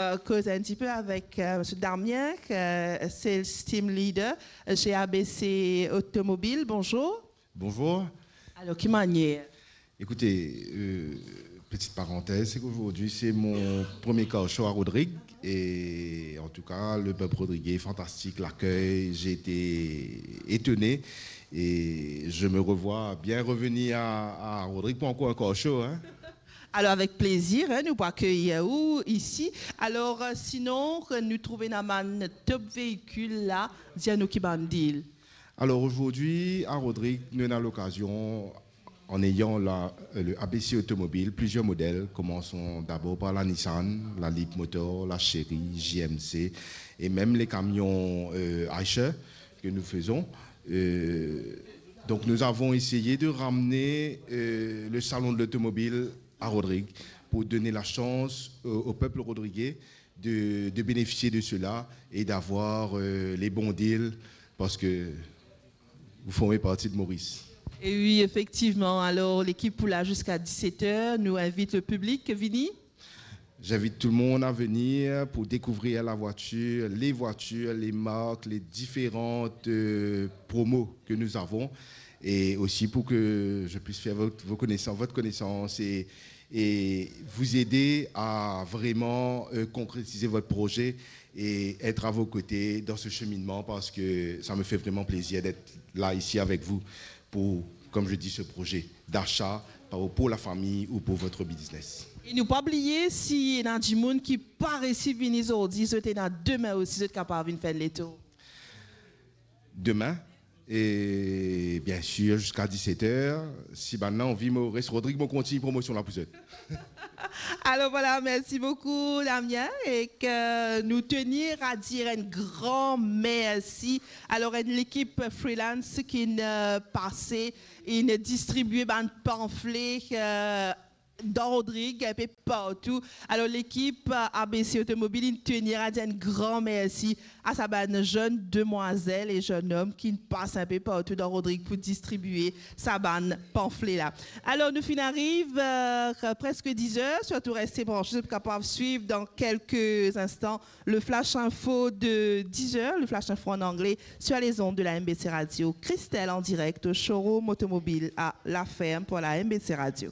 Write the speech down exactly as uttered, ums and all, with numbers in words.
euh, koz un petit peu avec euh, monsieur Damien, euh, sales team leader chez A B C Automobile. Bonjour. Bonjour. Alors, ki manière? Écoutez, euh, petite parenthèse, c'est qu'aujourd'hui c'est mon premier car show à Rodrigues et en tout cas le peuple rodriguais est fantastique, l'accueil, j'ai été étonné et je me revois bien revenir à, à Rodrigues pour encore un car show. Hein. Alors, avec plaisir, hein, nou pou akeyir ou isi. Alors, euh, sinon, nou trouve ena bann top véhicule la, dir nou ki bann deal. Alors aujourd'hui, à Rodrigues, nous avons l'occasion, en ayant la, le A B C Automobile, plusieurs modèles. Commençons d'abord par la Nissan, la Leapmotor, la Chery, J M C et même les camions euh, Eicher que nous faisons. Euh, donc nous avons essayé de ramener euh, le salon de l'automobile à Rodrigues pour donner la chance au, au peuple rodriguais de, de bénéficier de cela et d'avoir euh, les bons deals parce que vous formez partie de Maurice. Et oui, effectivement. Alors, l'équipe pou la jusqu'à dix-sept heures. Nou invit le public, vini. J'invite tout le monde à venir pour découvrir la voiture, les voitures, les marques, les différentes euh, promos que nous avons et aussi pour que je puisse faire votre, vos connaissances, votre connaissance et, et vous aider à vraiment euh, concrétiser votre projet et être à vos côtés dans ce cheminement parce que ça me fait vraiment plaisir d'être là ici avec vous pour, comme je dis, ce projet d'achat pour la famille ou pour votre business. E nou pa bliye, si ena dimoun ki pa resi vini zordi, zot ena demin osi, zot kapav vinn fer enn letour. Demain, et bien sûr jusqu'à dix-sept heures, si bann la anvi, mo res Rodrigues, mo kontign promosion la pou zot. Alors voilà, merci beaucoup Damien, e ke nou tenir a dir un grand merci. Alors, une équipe freelance ki inn pase, inn distribue bann pamfle euh, dan Rodrigues, un peu partout. Alors, l'équipe euh, A B C Automobile inn tenir a dir un grand merci à sa bann jeune demoiselle et jeune homme ki inn pas un peu partout dan Rodrigues pou distribue sa bann pamfle la. Alors, nou finn ariv euh, presque dix heures, surtout reste branché, zot pou kapav suiv dan quelques instants le flash info de dix heures, le flash info en anglais, sur les ondes de la M B C Radio. Christelle en direct au showroom automobile à La Ferme pour la M B C Radio.